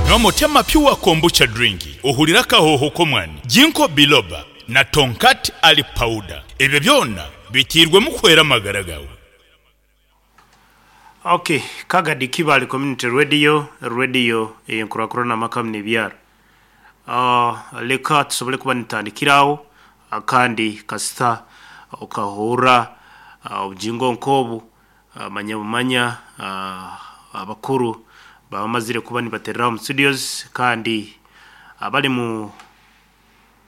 Nywa Motema Pure Kombucha Drink ohurire akahooho k'omwani, Ginkgo Biloba na Tongkat Ali Powder. Ebyo byona biteirwemu kuhwera amagara gaawe. Ok, Kagadi Kibale Community Radio, Radio eyenkurakurana amaka hamwe n'ebyaro. Leka tusobole kuba nitutandikira aho kandi kasita okahurra obugingo nk'obu manya bumanya abakuru baba bamazire kuba nibaterera omu studios kandi abari mu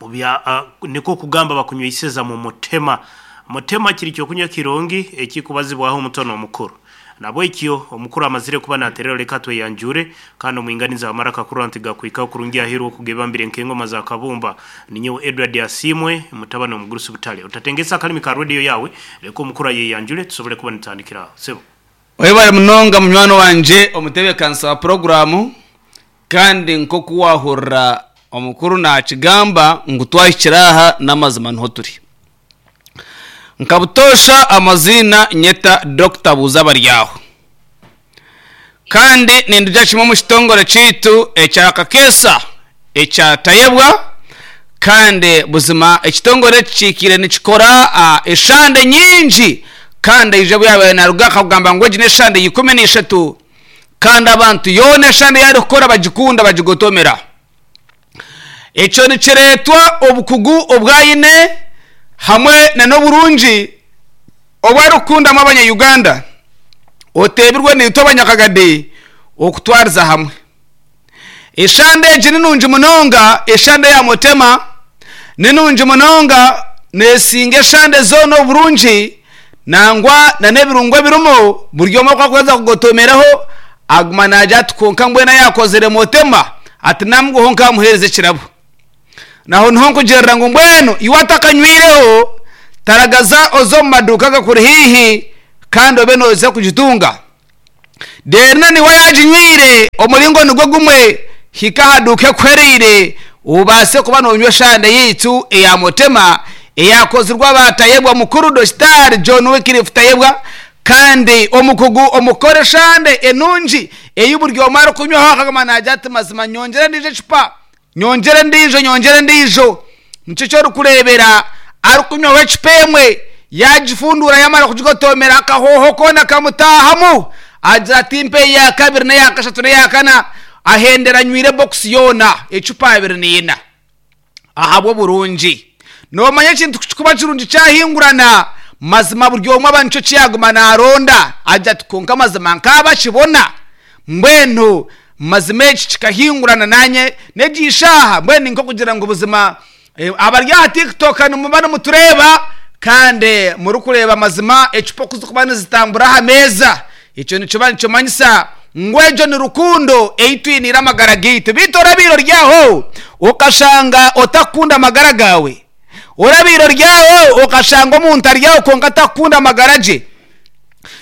bya nikwo kugamba bakunyweiseza mu mutema. Mutema kiri kyokunywa kirungi ekikubazibwaho omuto n'omukuru. Nabwekyo omukuru amazire kuba naterera leka tweyanjure kandi omwinganiza w'amaraka kurora nti gakuhikaho kurungi aheeru okugebambire nk'engoma za kabumba. Ninyowe Edward Asiimwe mutabani w'omugurusi Butare. Otatengesa akalimi ka radio yaawe leka omukuru ayeyanjure tusobole kuba nitutandikira aho. Sebo. Webare munonga munywani wangye omutebeekanisa wa puroguraamu kandi nk'oku waahurira omukuru naakigamba ngu twahikire aha n'amazima niho turi. Nka butoosha amaziina nyeta Dokita Buuzabaryaho. Kandi nindugya kimwe omu kitongore kyaitu ekya Kakeesa ekya Tayebwa kandi buzima ekitongore eki kiikaire nikikora eshande nyingi kandi aija obu yaabaire naaruga akagamba ngu egi n'eshande ya 13 kandi abantu yoona eshande ei arikukora bagikunda bagigotomera. Ekyo nikireetwa obukugu obu aine hamwe n'oburungi obu arikukundamu abanya-Uganda oteebirwe naitwe abanyakagadi okutwariza hamwe. Eshande egi ni nungi munonga, eshande ya Mutema ni nungi munonga neesinga eshande zoona oburungi nangwa n'ebirungo ebirimu buri omwe ku arikuheza kugotomeraho aguma naagira ati kwonka mbwenu ayaakozire Mutema ati namuguho nkamuheereza ekirabo. Naho niho nkugirira ngu mbwenu iwe atakanywireho taragaza oze omu maduuka agakuri haihi kandi obe nooza kugitunga. Reero na niiwe ayaaginywire omuringo nigwo gumwe, hika aha duuka ekuhwereire obaase kuba noonywa eshande yaitu eya Mutema eyaakozirwe aba Tayebwa Mukuru Dokitaari John Wycliffe Tayebwa kandi omukugu omu kukora eshande enungi ei buri omwe arikunywaho akaguma naagira ati mazima nyongyere endiijo ecupa, nyongyere endiijo, nyongyere endiijo. Nikyo eki orikureebera arikunywaho ecupa emwe yaagifunduura yaamara kugigotoomera akahooho koona kamutaahamu agira ati mpa eya kabiri n'eya kashatu n'eya kana ahendera anywire bokisi yoona ecupa 24 ahabw'oburungi. Noomanya ekintu ku kirikuba kirungi kyahingurana mazima buri omwe aba nikyo eki yaaguma naaronda agira ati kwonka mazima nkaabakibona Mbwenu mazima eki kikahingurana nanye n'egi ishaaha mbwenu ni nk'okugira ngu buzima abari aha TikTok nimuba nimutureeba kandi murikureeba mazima ecupa oku zirikuba nizitambura aha meeza. Ekyo nikiba nikimanyisa ngu egyo ni rukundo ei twiniire amagara gaitu. Beitu orabaire ori aho okashanga otakukunda amagara gaawe? Orabaire ori aho okashanga omuntu ari aho kwonka atakukunda amagara gye?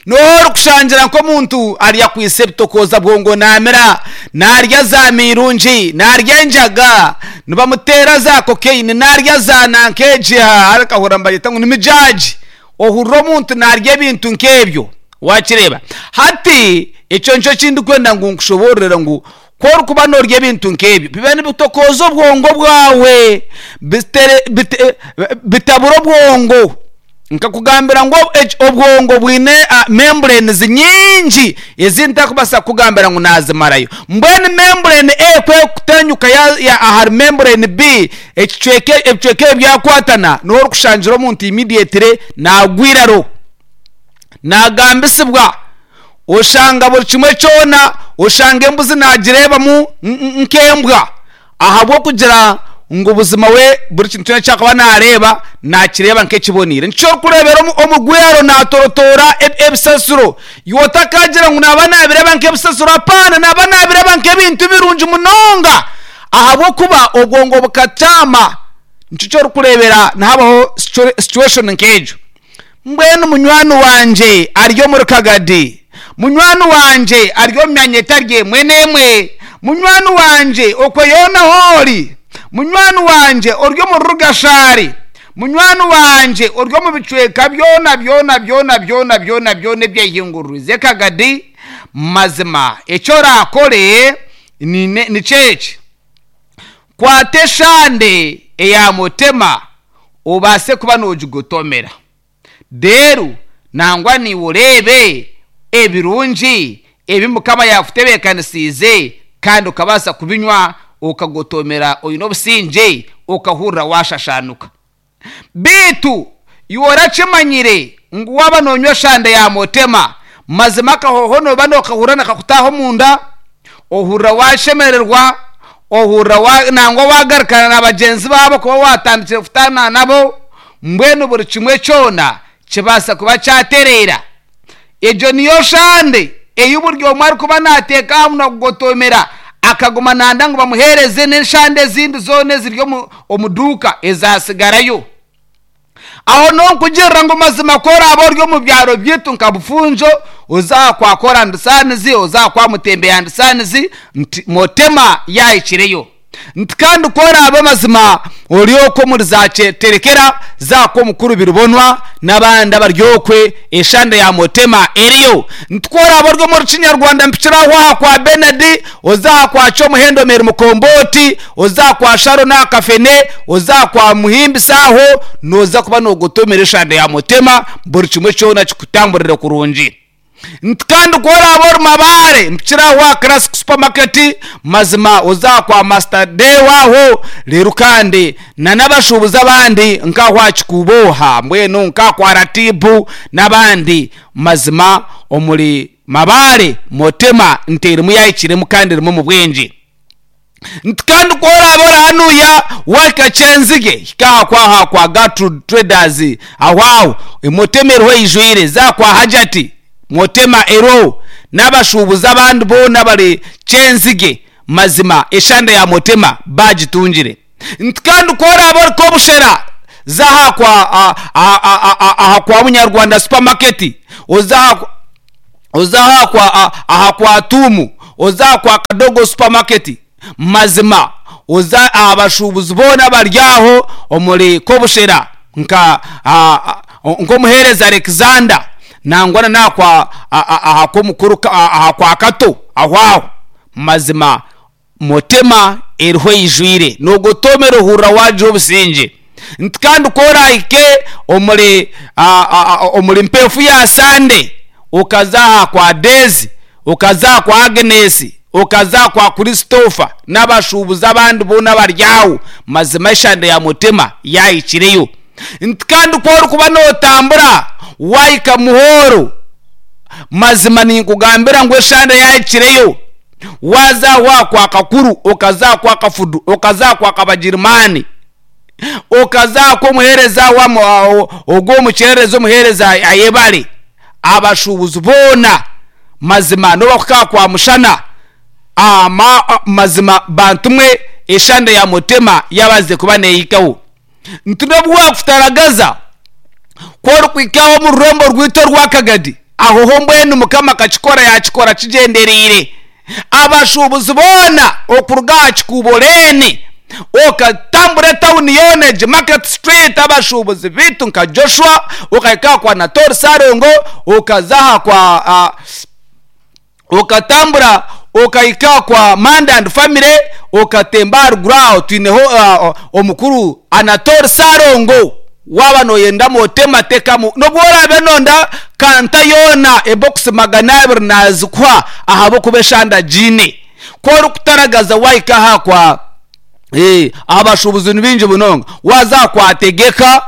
N'oha orikushangira nk'omuntu ari akwitse ebitokooza bwongo naamira, naarya za miirungi, naarya enjaga, nibamuteera za cocaine, naarya za nanka egi aha akahurira nibagyeta ngu ni mijaagi. Ohurira omuntu naarya ebintu nk'ebyo waakireeba. Hati ekyo nikyo eki ndikwenda ngu nkushoboororere ngu ku orikuba noorya ebintu nk'ebyo biba nibitokooza obwongo bwawe, bitabura obwongo. Nkakugambira ngu obwongo bwine membranes nyingi ezi ntarikubaasa kukugambira ngu naazimarayo. Mbwenu membrane A ku erikutenyuka yaaza ahari membrane B, ekicweka ebicweka ebi byakwatana, niho orikushangira omuntu immediately naagwa eiraro, naagambisibwa. Oshanga buri kimwe kyona, oshanga embuzi naagireebamu nk'embwa. Ahabw'okugira ngu buzima we buri kintu kyona eki arikuba naareeba naakireeba nk'ekiboneire. Nikyo orikureebera omugwero naatorotoora ebisasiro. Iwe otakaagira ngu naaba naabireeba nk'ebisasiro, apaana, naaba naabireeba nk'ebintu birungi munonga ahabw'okuba obwongo bukakyama. Nikyo eki orikureebera nihabaho situation nk'egyo. Mbwenu munywani wangye ari omuri Kagadi, munywani wangye ari omu myanya etari emwe n'emwe, munywani wangye okwo yoona ahu ori, munywani wangye ori omuri Rugashari, munywani wangye ori omu bicweka byona byona byona byona byona byona ebyehinguririize Kagadi, mazima eki oraakore. Nikyo eki, Kwata eshande eya mutema obaase kuba noogigotomera. Reero nangwa naiwe oreebe ebirungi ebi Mukama yaakutebeekanisiize kandi okabaasa kubinywa okagotomera oine obusingye okahurira waashashaanuka. Beitu iwe orakimanyire ngu waaba noonywa eshande ya mutema, mazima akahooho nooba nookahurira nikakutaaha omunda, ohurira waashemererwa, ohurira wa nangwa waagarukana na bagyenzi baabo okuba waatandikire kutaana nabo, mbwenu buri kimwe kyona kibaasa kuba kyatereera. Egyo niyo shande ei buri omwe arikuba naateeka aha munwa kugotomera akaguma nanda ngu bamuheereze n'eshande ezindi zoona eziri omu duuka ezaatsigarayo. Aho nonkugirira ngu mazima ku oraabe ori omu byaro byaitu nka Bufunjo, oze aha kwa Kora and Sons, oze aha kwa Mutembeya and Sons, nti Motema yaahikireyo. Nti kandi ku oraabe mazima ori okwo omuri za Kyeterekera, za Kwomukuru Biribonwa n'abandi abari okwe, eshande ya Motema eriyo. Nti ku oraabe ori omuri Kinyarwanda mpikire aho aha kwa Benard, oze aha kwa Kyomuhendo Mary Mukombooti, oze aha kwa Sharon aha Kafene, oze aha kwa Muhimbisa aho, nooza kuba noogotomera eshande ya Motema, buri kimwe kyona kikutamburire kurungi. Nti kandi ku oraabe ori Mabaare, mpikire aho aha Classic Supermarket, mazima oze aha kwa Master Deo aho, reero kandi na n'abashuubuzi abandi nk'aho aha Kikuubo aha, mbwenu nk'aha kwa Ratibu n'abandi, mazima omuri Mabaare Motema nti erimu yaahikiremu kandi erimu omu bwingi. Nti kandi ku oraabe ori hanuya wahika Kyenzige, hika aha kwa aha kwa Gertrude Traders aho aho Motema eriho eijwire, za kwa Hajati Motema eriho n'abashuubuzi abandi boona abari Kyenzige mazima eshande ya Motema baagitungire. Nti kandi ku oraabe ori Kobushera za aha kwa aha kwa Munyarwanda Supermarket oze aha oze aha kwa aha kwa Tuumu, oze aha kwa Kadogo Supermarket, mazima oze aha bashuubuzi boona abari aho omuri Kobushera nka nk'omuheereza Alexander nangwa na n'aha kwa aha kw'omukuru aha kwa Kato aho aho mazima Motema eriho eijwire, noogotoomera ohurira waagira obusingye. Nti kandi ku oraahike omuri omuri mpeefu ya Sande, okaza aha kwa Deezi, okaza aha kwa Agnesi, okaza aha kwa Christopher n'abashuubuzi abandi boona abari aho, mazima eshande ya Motema yaahikireyo. Nti kandi ku orikuba nootambura waahika Muhooro, mazima ninkugambira ngu eshande yaahikireyo. Waaza aho aha kwa Kakuru, okaza aha kwa Kafudu, okaza aha kwa Kabagirimaani, okaza aha kw'omuheereza ogwo omukyererezi omuheereza Ayebare, abashuubuzi boona mazima n'obu wakuhika aha kwa Mushana, mazima bantu mwe eshande ya Mutema yaabaasize kuba neehikaho. Nti n'obu waakutaragaza, ku orikuhika aho omu rurembo rwaitu orwa Kagadi, aho ho mbwenu Mukama akakikora yaakikora kigyendereire. Abashuubuzi boona okuruga aha kikuubo Lane, okatambura etauni yoona egi Market Street, abashuubuzi baitu nka Joshua, okahika aha kwa Natori Sarongo, okaza aha kwa Okatambura okahika kwa Manda and Family, okatemba aharuguru aho twineho omukuru Anatole Ssalongo. Waaba noyenda motema tekamu nobu oraabe nonda kanta yoona ebokisi 200 nazikuha ahabw'okuba eshande agiine. Ku orikutaragaza wahika aha kwa aha bashuubuzi ni baingi munonga. Waaza aha kwa Tegeka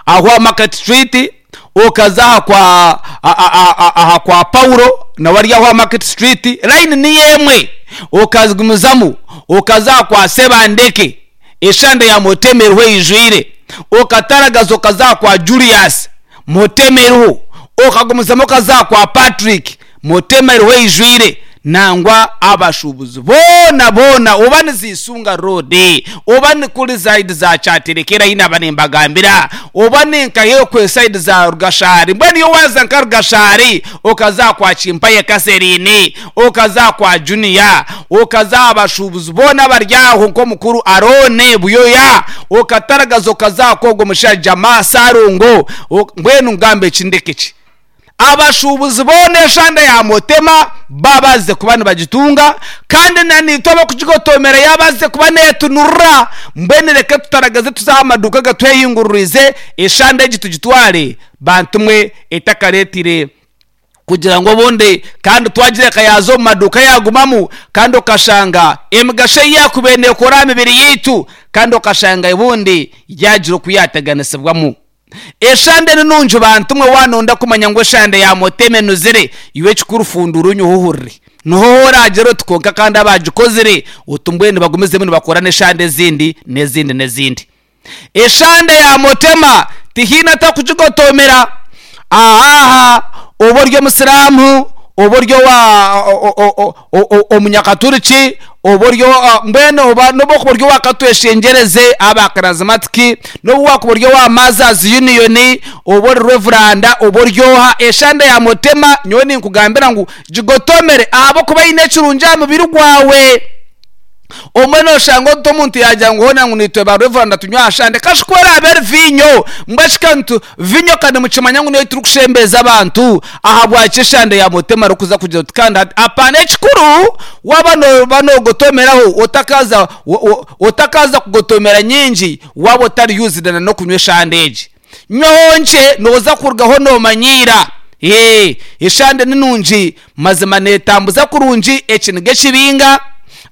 aho aha Market Street, okaza aha kwa aha kwa Paulo nawe ari aho aha Market Street, line niyo emwe. Okagumizamu okaza aha kwa Sebandeke, eshande ya Motema eriho eijwire. Okataragaza okaza aha kwa Julius, Motema eriho. Okagumizamu okaza aha kwa Patrick, Motema eriho eijwire. Nangwa abashuubuzi boona boona oba ni Ziisunga Road, oba ni kuri zaidi za Kyaterekera ahi naaba nimbagambira, oba ni nka okwe saidi za Rugashari, mbwenu iwe waaza nka Rugashari okaza aha kwa Kimpaye Catherine, okaza aha kwa Junior, okaza aha bashuubuzi boona abari aho nk'omukuru Arooni Buyoya, okataragaza okaza aha kw'ogwo mushaija Maa Ssalongo, mbwenu ngambe ki ndeke ki? Abashuubuzi boona eshande ya Motema babazize kuba nibagitunga kandi na naitwe abarikugigotomera yabazize kuba netunurira. Mbwenu reka tutaragaze tuze aha maduuka agatwehinguririize eshande egi tugitware bantu mwe etakareetire kugira ngu obundi kandi twagireka yaaza omu maduuka yaagumamu kandi okashanga emigasho ei yaakubaire neekora aha mibiri yaitu kandi okashanga obundi yaagira oku yaateganisibwamu. Eshande ni nungi bantu mwe waanonda kumanya ngu eshande ya Motema enuzire iwe ekikuru funduura onyweho ohurire. Niho oraagira oti kwonka kandi abaagikozire oti mbwenu bagumizemu nibakora n'eshande ezindi n'ezindi n'ezindi. Eshande ya Motema tihaine atakugigotomera. Aha oba ori omusiraamu, oba ori owa omunyakaturiki, oba ori mbwenu oba n'obu okuba ori owa Katweshengyereze aba karazimatiki, n'obu waakuba ori owa Mothers Union, oba ori Revuranda, oba ori oha, eshande ya Motema nyowe ninkugambira ngu gigotomere ahabw'okuba eine ekirungi aha mubiri gwawe. Obumwe nooshanga oti omuntu yaagira ngu hoona ngu naitwe ba Reveranda tunywe aha shande. Kashi ku eraabe eri viinyo, mbwenu shi ka nitu, viinyo ka nimukimanya ngu niyo ei turikushembeeza abantu, ahabwaki eshande ya Mutema erikuza kugira oti kandi hati apaana ekikuru waaba nooba noogotomeraho otakaaza otakaaza kugotomera nyingi waaba otari used na n'okunywa eshande egi. Nywaho nkye nooza kurugaho noomanyiira. Ee, eshande ni nungi mazima neetambuza kurungi ekiniga ekibinga,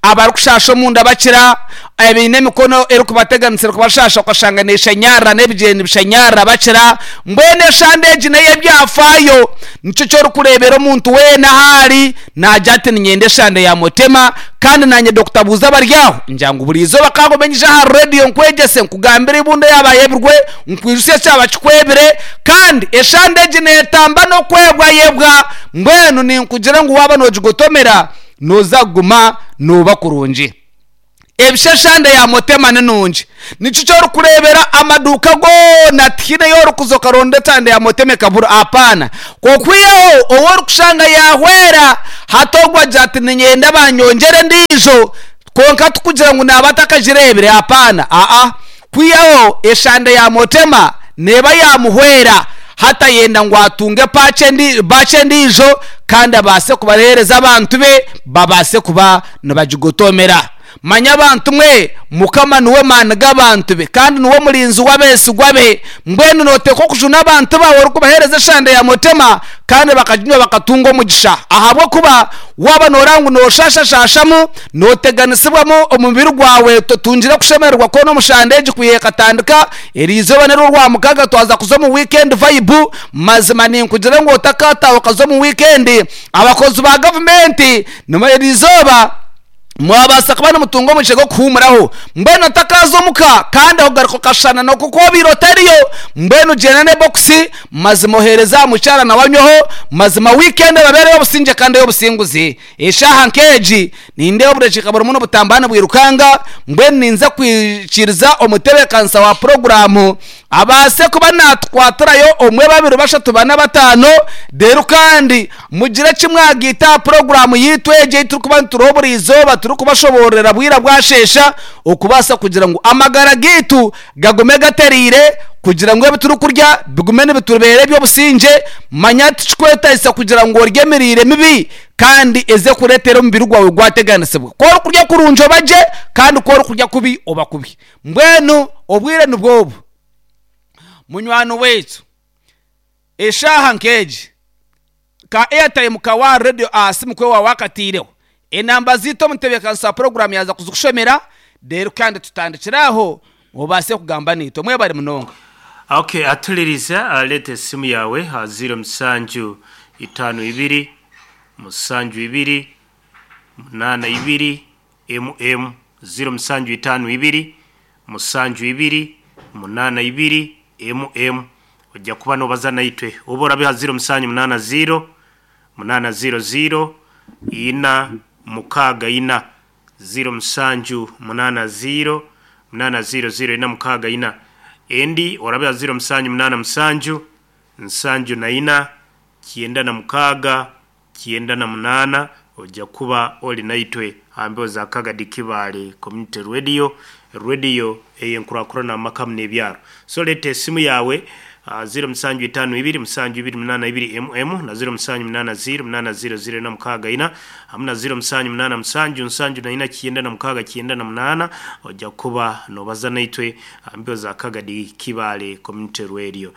abarikushaasha omunda bakira, abaine emikono erikubateganisa erikubashaasha okashanga neeshanyarara n'ebigyere nibishanyarara bakira. Mbwenu eshande egi n'ey'ebyafaayo. Nikyo eki orikureebera omuntu weena ahu ari naagira ati niinyenda eshande ya Mutema kandi naanye Dokita Buuza abari aho ngira ngu buri izooba ka ngume nyije aha reediyo nkwegyese nkugambire eibunda eyaaba ayebirwe nkwijutsye ekyaba kikwebire kandi eshande egi neetamba n'okwebwayebwa mbwenu ninkugira ngu waaba noogigotomera nooza kuguma nooba kurungi. Ebisha eshande ya Motema ni nungi. Nikyo eki orikureebera amaduuka goona tihaine ei orikuza okaronda eshande ya Motema ekabura. Apaana. Okwihaho ou orikushanga yaahwera, hati ogwo agira ati niinyenda banyongyere endiijo, kwonka tikugira ngu naaba atakagireebire, apaana. Aa. Kwihaho eshande ya Motema neeba yaamuhwera, hati ayenda ngu atunge baaki endiijo kandi abaase kubaheereza abantu be babaase kuba nibagigotomera. Manya abantu mwe, Mukama niwe maani g'abantu be, kandi niwe murinzi w'abeesigwa be. Mbwenu nooteekwa okujuna abantu baawe orikubaheereza eshande ya Mutema, kandi bakaginywa bakatunga omugisha. Ahabw'okuba waaba nooreeba ngu nooshashashashamu, nooteganisibwamu omubiri gwawe, totungire kushemererwa kwona omu shande egi kwiha ekatandika, eri izooba n'eryo Orwamukaaga twaza kuza omu weekend vibe, mazima ninkugira ngu otakaataaha okaza omu weekend, abakozi ba gavumenti eri izooba mwabaasa kuba nimutunga omugisha gw'okuhuumuraho. Mbwenu otakaaza omuka kandi ogaruka okashushana n'oku obaire otariyo. Mbwenu gyenda n'ebokisi, mazima oheereze aha mukyara nawe anyweho. Mazima wiikendi ebabeere ey'obusingye kandi ey'obusinguzi. Eshaaha nk'egi nindeeba obudakiika burimu nibutambura nibwirukanga, mbwenu ninza kwikiriza omutebeekanisa wa puroguraamu abaase kuba naatukwatirayo omwe, babiri, bashatu, bana, bataano, reero kandi mugire eki mwagaita aha puroguraamu yaitu egi ei turikuba nituriho buri izooba turikubashoboororera bwira bwasheesha okubaasa kugira ngu amagara gaitu gagume gatereire kugira ngu ebi turikurya bigume nibitubeera eby'obusingye. Manya tikikwetaagisa kugira ngu orye emiriire mibi kandi eze kureetera omubiri gwawe gwateganisibwa. Ku orikurya kurungi oba gye kandi ku orikurya kubi oba kubi. Mbwenu obwire nibwo obu, munywani waitu, eshaaha nk'egi, ka airtime kawe aha reediyo aha simu ku waaba waakataireho, enamba zaitu omutebeekanisa wa puroguraamu yaaza kuzikushomera, reero kandi tutandikire aho obaase kugamba naitwe. Mwebare munonga. Ok, atuliriza, leeta esimu yaawe aha ziiro musanju itaano ibiri, musanju ibiri, munaana ibiri, MM 0752 72 82 MM Oija kuba noobaza naitwe oba orabe aha 0780 800 464 0780 800 464 Endi orabe aha 0787 74 96 98 oija kuba ori naitwe aha mbeho za Kagadi Kibaale Community Radio, rediyo ey'enkurakurana omu maka hamwe n'ebyaro. So reeta esimu yaawe. 0752 782 mm na 0780 800 64 hamwe na 0787 74 98 ojja kuba nobaza naitwe mbio za Kagadi Kibale Community Radio.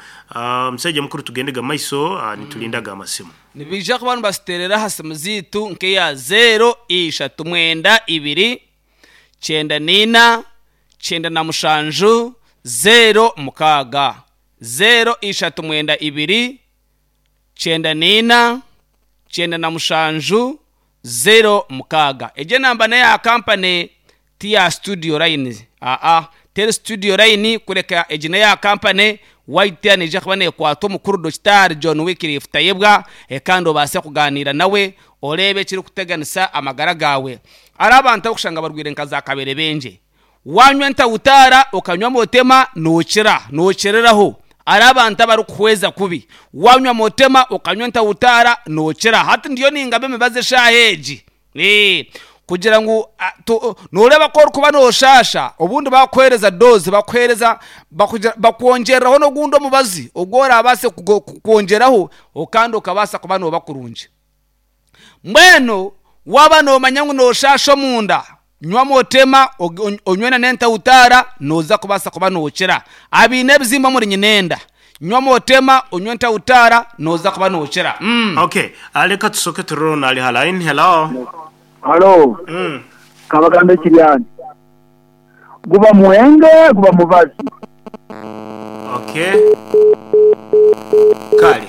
Musajja mukuru tugendega maiso nitulindaga amasimu. Nibaija kuba nibasiterera aha simu zaitu nk'eya zeero ishatu mwenda ibiri kyenda n'ina kyenda na mushanju zeero mukaaga zeero ishatu mwenda ibiri kyenda n'ina kyenda na mushanju zeero mukaaga. Egyo enamba n'eya kampani ti ya studio line aa teri studio line kureka egi n'eya kampani waitera neija kuba neekwata omukuru Dokitaari John Wycliffe Tayebwa kandi obaase kugaaniira nawe oreebe ekirikuteganisa amagara gaawe. Hariho abantu abarikushanga barwaire nka za kaberebengye. Wanywa entautaara okanywa motema nookira, nookiriraho. Hariho abantu abarikuhweza kubi. Wanywa motema okanywa entautaara nookira. Hati ndiyo ningaba emibazi eshaaha egi. Ee, kugira ngu nooreeba ku orikuba nooshaasha, obundi bakuheereza doozi, bakuheereza, bakugira, bakwongyereraho n'ogundi omubazi ogu oraabaase kwongyeraho kandi okabaasa kuba nooba kurungi. Mbwenu waaba noomanya ngu nooshaasha omunda, nywa motema onywe na n'entautaara, nooza kubaasa kuba nookira. Abaine ebizimba omuri nyinenda, nywa motema onywe entautaara, nooza kuba nookira. Okay, reka tusooke turore onu ari ha line. Hello. Halo, Kabagambe Kiryani. Guba mwenge, guba mubazi. Okay. Kale.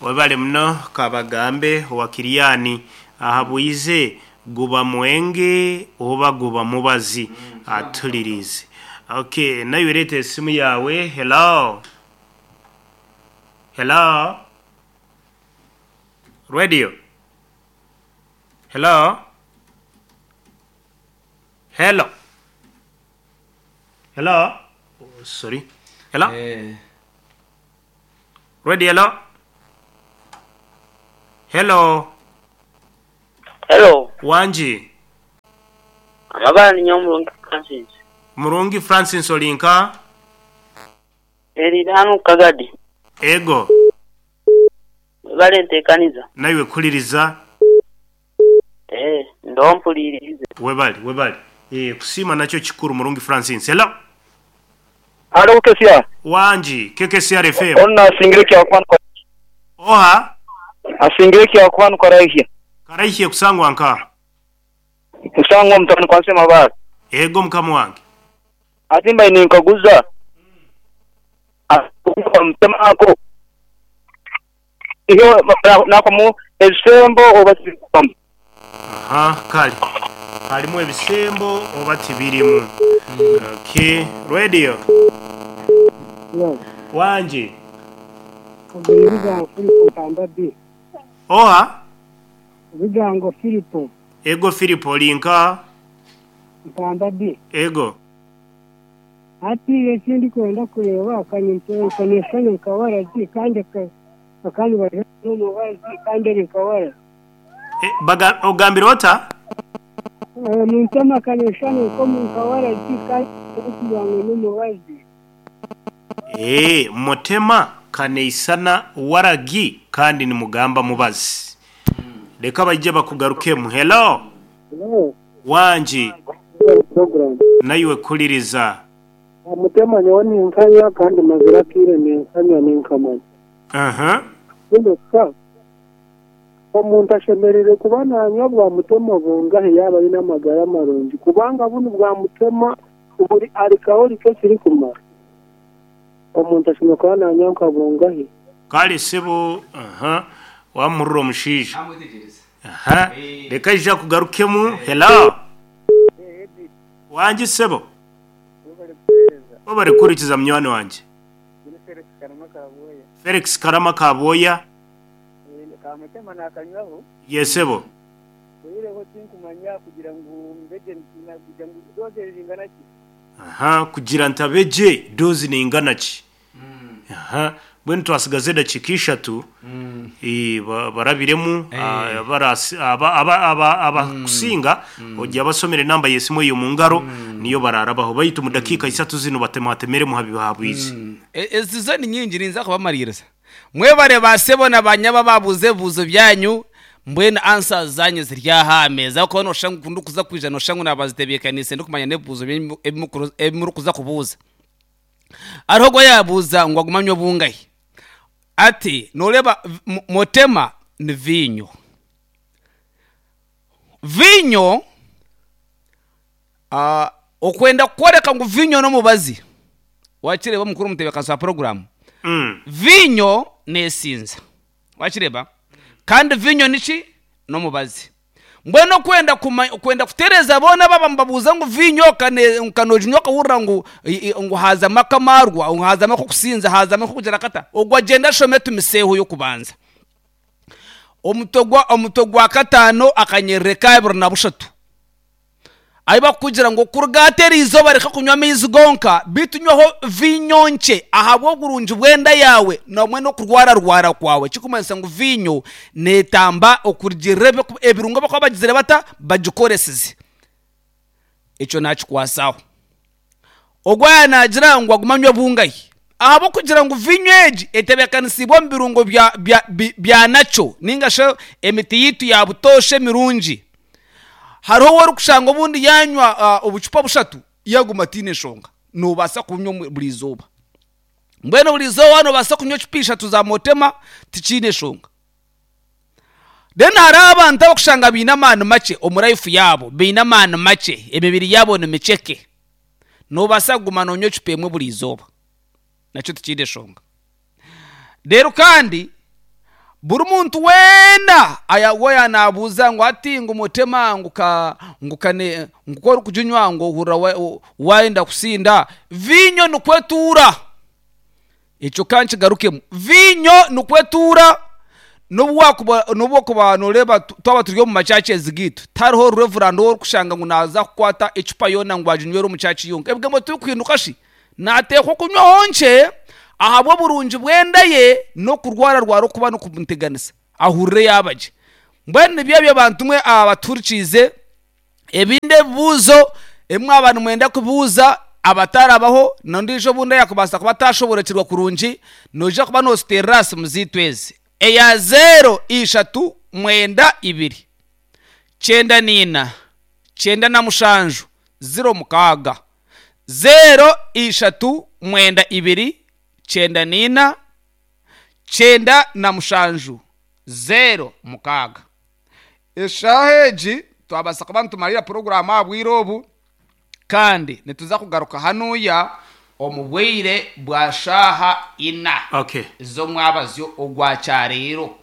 Webale muno Kabagambe owa Kiryani ahabwize guba mwenge oba guba mubazi atulirize. Okay, nayo reta esimu yawe. Hello. Hello. Radio. Hello. Hello. Hello. Oh, sorry. Hello. Radio, hello. Hello. Hello. Wangi. Amabara ni Murungi Francis. Murungi Francis olinka? Erira hanu Kagadi. Ego. Webale ntekaniza. Naiwe kuliriza. Eh, ndompulirize. Webale, webale. Eh, kusiima nakyo kikuru Murungi Francis. Hello. Halo KKCR. Wangi, KKCR FM. Onu asingire kyakwanu kwa Oha? Asingire kyakwanu karaihia. Karaihia kusangwa nka. Kusangwa mutani kwa nsema bara. Ego mukama wange. Atimba ninkaguza. Mutema ako. Iyo nakomu ebisembo oba tibirimu. Aha, kale. Harimu ebisembo oba tibirimu. Okay, radio. Wangi. Obigango Filipo Mpamba B. Oha? Obigango Filipo. Ego Filipo olinka? Mpamba B. Ego. Hati eki ndikwenda kureeba nkanesana nka waragi kandi bakanibaza n'omubazi kandi eri nka waragi. Ogambire ota? Muntema akaneshana nka waragi kandi arikugira ngu n'omubazi. Mutema kaneisana waragi kandi nimugamba mubazi. Reka baije bakugarukemu. Hello. Hello. Wangi. Program. Naiwe kuliriza. Mutema nyowe ninkanya kandi mazira kiire ninkanya ninkamanya. Mbwenu omuntu ashemereire kuba nanywa bwa mutema bungahe yaaba aine amagara marungi kubanga bunu bwa mutema buri alcoholic ekirikumara. Omuntu ashemereire kuba nanywa nka bungahe. Kale sebo, wamurura omushaija. Reka aija kugarukemu. Hello. Wangi sebo. Wabari kurikiza munywani wangye. Felix Karama Kaboya. Kamutema nakanywaho. Yesebo. Oyireho tinkumanya kugira ngu mbeje kugira ngu doze zingana ki? Kugira ntabeje doze ningana ki? Mbwenu twasigaza edakiika ishatu eh, ba- barabiremu ah, barasi- aba- aba- aba- abakusinga ojya basomera enamba y'esimu eyo mu ngaro niyo bararabaho baitu mu dakiika isatu zino batematemeremu habihabwizi. Ezi zo ni nyingi ninza kubamaririza. Mwebare basebo na banyaba babuze ebibuzo byanyu mbwenu answers zanyu ziri aha meza kuba noshusha ngu ndikuza kwija noshusha ngu nabazitebeekanise ndikumanya n'ebibuzo ebi murikuza kubuuza. Hariho ogwo yaabuuza ngu agume anywe bungahi. Ati nooreeba motema ni viinyo. Viinyo okwenda kworeka ngu viinyo n'omubazi Wakireeba omukuru omutebeekanisa wa puroguraamu? Viinyo neesinza. Wakireeba? Kandi viinyo niki? N'omubazi. Mbwenu okwenda kuma okwenda kutereeza boona abaaba nibabuuza ngu viinyo ka ne ka nooginywa okahurira ngu ngu haazamu akamarwa, ngu haazamu ak'okusinza, haazamu ak'okugira kata, ogwo agyende ashome Timiseeho y'okubanza. Omutwe gwa omutwe gwa kataano akanyerere ka abiri na bushatu. Ahi barikukugira ngu okuruga hati eri izooba reka kunywa amaizi gonka, beitu nywaho viinyo nkye ahabw'oburungi bw'enda yaawe hamwe n'okurwararwara kwawe. Ekirikumanyisa ngu viinyo neetamba okurugiirira ebirungo ebi barikuba bagizire bata? Bagikoresize. Ekyo naakikwatsaho. Ogwo yaaba naagira ngu agume anywe bungahi? Ahabw'okugira ngu viinyo egi etebeekanisiibwe omu birungo bya nakyo nainga shi emiti yaitu ya butoosha emirungi. Hariho ou orikushanga obundi yaanywa obucupa bushatu yaaguma ataine nshonga. Noobaasa kubunywa buri izooba. Mbwenu buri izooba noobaasa kunywa ecupa ishatu za Motema tikiine nshonga. Then hariho abantu abarikushanga baine amaani makye omu life yaabo, baine amaani makye, emibiri yaabo ni mikyeke. Noobaasa kuguma noonywa ecupa emwe buri izooba, nakyo tikiine nshonga. Reero kandi buri muntu weena aya naabuuza ngu hati ngu mutema ngu ka ngu kane ngu ku orikuginywa ngu ohurira waayenda kusinda, viinyo nikwo etuura. Ekyo ka nkigarukemu. Viinyo nikwo etuura, n'obu waakuba n'obu okuba nooreeba twaba turi omu macaacezi gaitu, tihariho revurandi ou orikushanga ngu naaza kukwata ecupa yoona ngu aginywere omu caaci yonka. Ebigambo tibikuhinduka shi? Naateekwa okunywaho nkye ahabw'oburungi bw'enda ye n'okurwararwara okuba nikumuteganisa, ahurire yaaba gye. Mbwenu nibyo ebyo bantu mwe abatuhurikiize. Ebindi ebibuuzo ebi mwaba nimwenda kubuuza abatarabaho n'ondiijo obundi ayakubaasa kuba atashoboorokyerwa kurungi, noija kuba nooziteerera aha simu zaitu ezi, eya zeero ishatu mwenda ibiri, kyenda naina, kyenda na mushanju, ziro mukaaga. Zeero ishatu mwenda ibiri, kyenda naina, kyenda na mushanju, zeero mukaaga. Eshaaha egi twabaasa kuba nitumarira puroguraamu aha bwire obu, kandi nituza kugaruka hanuya omu bwire bwa shaaha ina Okay. z'omwabazyo ogwa kyareero.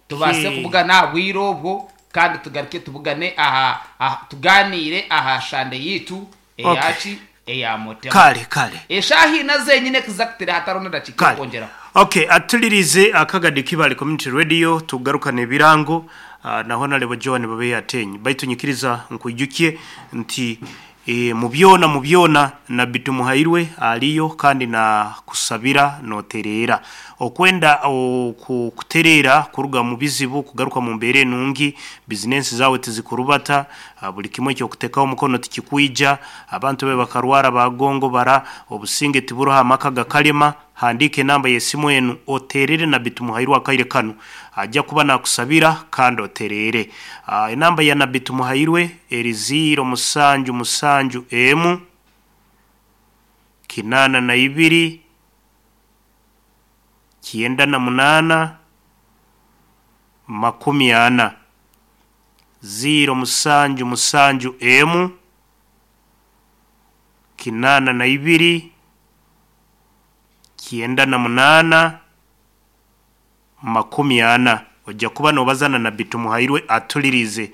Tubaase Okay. kubugana aha bwire obwo kandi tugaruke tubugane aha, aha tugaaniire aha shande yaitu Okay. eyaki eya Mutema. Kale, kale. Eshaaha ina zenyine exactly hatariho n'edakiika Kale. y'okwongyeraho. Okay, atulirize akagadi Kibale Community Radio tugarukane ebirango ah, na Honarebo Joan Babehe Atenyi. Baitu nyikiriza nkwijukye nti e, mu byona mu byona Nabbi Tumuhairwe aliyo kandi na kusabira notereera. Okwenda oku kutereera kuruga mu bizibu kugaruka mu mbeera enungi, bizinensi zaawe tizikurubata, Buri kimwe eki orikuteekaho omukono tikikwija, abantu be bakarwara baagongobara, obusinge tiburiho amaka gakarema. Handiika enamba y'esimu enu oteerere Nabbi Tumuhairwe akaire kanu. Aja kuba naakusabira kandi otereere. Enamba ya Nabbi Tumuhairwe eri ziiro musanju musanju emu, kinaana na ibiri, kyenda na munaana, makumi ana. Ziiro musanju musanju emu, kinaana na ibiri, kyenda na munaana, 40. Oija kuba noobaza na Nabbi Tumuhairwe atulirize.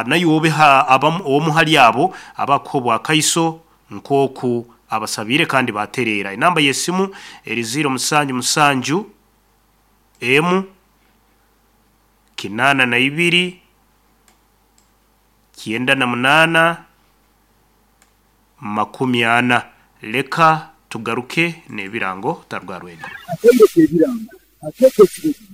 Naiwe obe omu hali abo abakuha obwakaiso nk'oku abasabiire kandi baatereera. Enamba y'esimu eri ziiro musanju musanju emu, 82, 98, 40. Leka. Tugaruke n'ebirango tarwarwenda. Atendeka ebirango, ateeka ekiragiro.